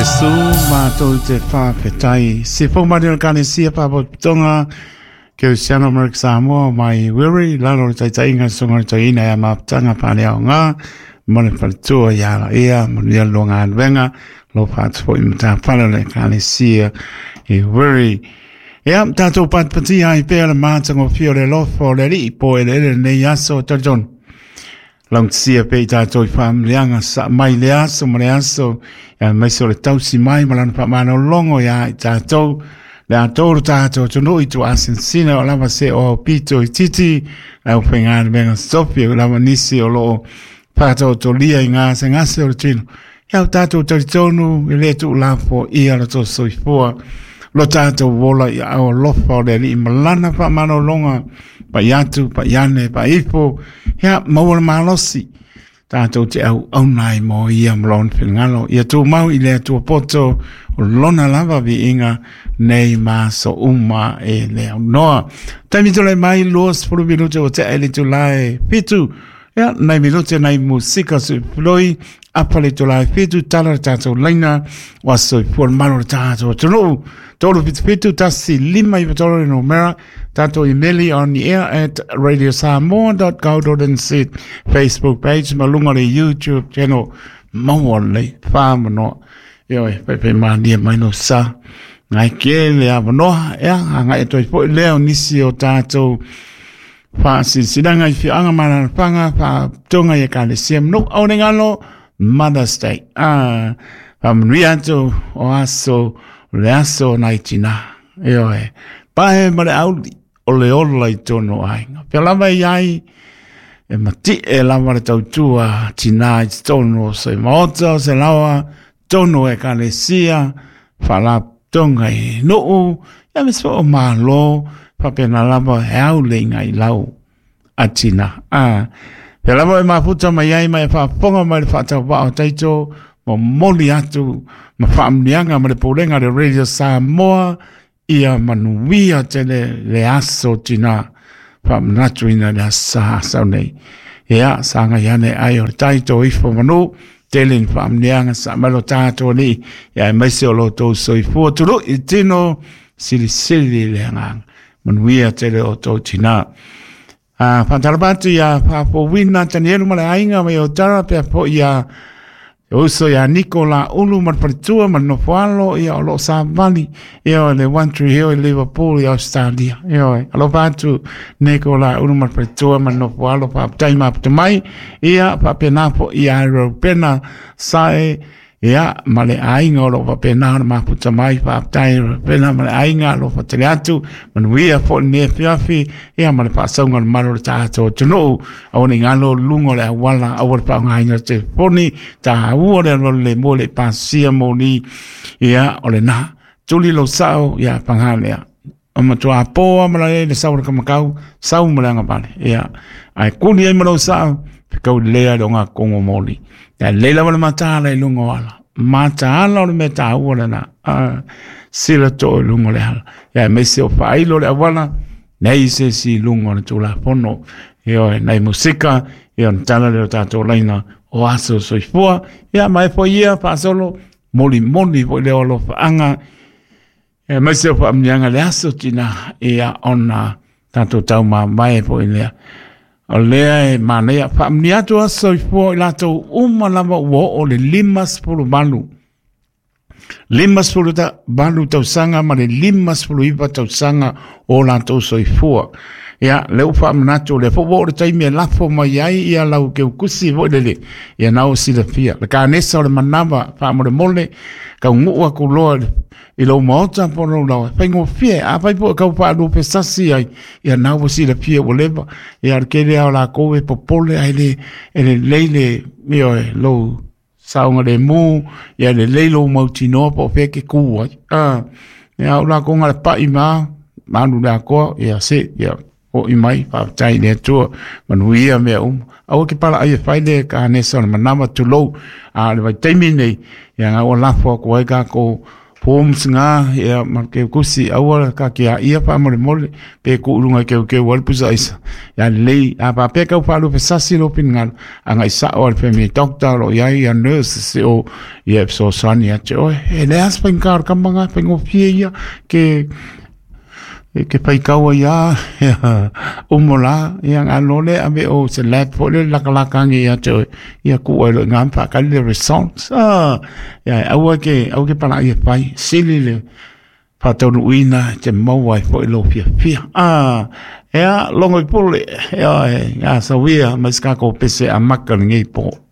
Iesu, mātou te whawhetai. Se pō mai o Kanesia Pāpototonga, Keusiano Amerika Samoa, mai Wiri, lalo le taitainga, songa le tauina ia maputanga pālea o ngā, mo le whaletua i ala ia, mo le lo ngā anwenga, lo whātu i matawhara le Kanesia i Wiri. Ia, tātou patipati ai pēa le mātanga o whio le lofo le rii po ele ele nei aso talitonu. Laugatasia pea i tātou i whaamlianga sa mai le aso ma le aso, ia mai so le tausi mai ma lana whaamanolongo ia i tātou, le a tōru tātou tunu i tu asinsina o lava se o pito i titi, au whaingāna menga sopi o lava nisi o loo whātau to lia i ngā se ngase o le tino. Ia o tātou taritonu i le tu lafo i ala tō soifua, lo tātou wola i au lofa o le alii malana whaamanolonga, pa i atu, pa i ane, pa ifo, ia maua le malosi. Tātou te au au nai mō ia ma lona finagalo. Ia tūmau i le Atua poto o lona lava viiga nei ma aso uma e le aunoa. Taimi tole mai 20 minute o te ele itula e 7. Ia, nei minute nei musika su floi, apa le itula e 7, tala le tātou laina, o aso i pua le malo le tātou atunuu. 377 1 5 9 3 le numera, tātou imeli on the air at radiosamoa.co.nz, Facebook page, ma lunga le YouTube channel, maua lelei, whamanoa. Ioe, pai mānia mai no sa. Ngai ke le awanoa, ea, a ngai e toi po i leo nisi o tātou whaasisiringa i whianga mana whanga, wha tonga i e kalesia manu au ne ngalo, Mother's Day. Ah, whamanui atu o aso, le aso nai tina. Ioe, pae ma le auli o le ola i tono aiga. Pea lava i ai, e mati e lava le tautua tina i tonu o se maota o se lawa, tonu e kalesia, whalatonga i nuu, ia me so o malo, whapena lava he au le inga i lau a tina. Ah, pea lava e mafuta mai ai mai e whaafonga mai le whaatau o taito, mo moli atu, ma whaamnianga ma le pōlenga le Radio Samoa, ia manuia tele le aso tina whaamanatu ina le asa asau nei. Ia, sanga iane ai o le taito ifo manu, tele ni whaamnianga sa malo tātou ni, ia e maise o lo tō soifua tulu i tino sili sili le anganga. Manuia tele o tō tina. A whantarapatu ia whapowina Tanielu ma le ainga mai o tara pea po ia uso ia Nikola Ulu ma le paletua ma le nofoalo ia o loo savali ia o le One Tree Hill i Liverpool i Australia. Ia oe, alofa atu Nikola Ulu ma le paletua ma le nofoalo faafetai mafuta mai ia faapena foi ia Ropena Sae ia ma le aiga o loo faapena ona mafuta mai faafetai Ropena ma le aiga alofa tele atu manuia foi lenei afiafi ia ma le faasauga o le malo o le tatou atunuu aua ne i galo luga o le auala aua le faaaogaina o le telefoni taua le alualu lemu e le i pasia moli ia o lena tuli lou sao ia paga lea o matua pō ma le le sau le kamakau sau ma le agavale ia ae kuli ai ma lou sao fekau lea le o ngā kongo moli ia lei lava le mataala i luga o ala mataala o le mea taua lena sila too i luga o le ala ia aemaise o faailo le auala nei se isi i luga o le Tulafono. Ioe, nai musika, ia ona tala lea o tātou laina o aso soifua. Ia, ma e foi ia, faasolo, moli moli foi lea o alofaanga, e maise o whaamunianga le aso tina, ia ona tātou tau mamae foi lea. O lea e manaia, whaamunia atu aso soifua i latou uma lava ua oo le 58. 58 tausaga ma le 59 tausaga o latou soifua. Ia, lea ua faamanatu, o lea foi ua oo le taimi e lafo mai ai ia lau keukusi foi lele, ia na o silafia. Le kanesa o le manava faamolemole, kaunuu aku loa i lou maota po o lou laoa, faigofie, afai foi e kau faaluafesasi ai, ia na ua silafia ua leva. Ia, o le tele lava o lakou e popole ae le, e lelei le, ioe, lou saogalemu, ia lelei lou mautinoa po o fea e te kū ai. Ia au lākou na le paʻi ma, malu le atoa, ia se, ia hoʻi mai, faafetai i le Atua, manuia mea uma. Aua ke palaʻai e fai le kanesa o le manawa, tulou, a o le vaitaimi nei, ia na ua lafo atu ai kākou Forms ngā, ia ma ke kusi aua ka ke a ia pa mole mole pe ku lunga ke ke wal pusa isa. Ia lei a pa pe ka pa lu sasi lo pin ngal anga isa o al family doctor lo ia ia nurse se o ia so sani ia che o e le as pen kar kamanga pen o fie ia ke ke pai kaua ia umola ia ngalo le ave o se lab fo le lakalaka ngi ia te ia ku ai lo ngam pa ka le results ia aua ke au ke pala ia pai sili le whātaunuina te maua ai fo i lo fia fia ia longo i pole ia ia sawia mai ska ko pese a maka ngi po.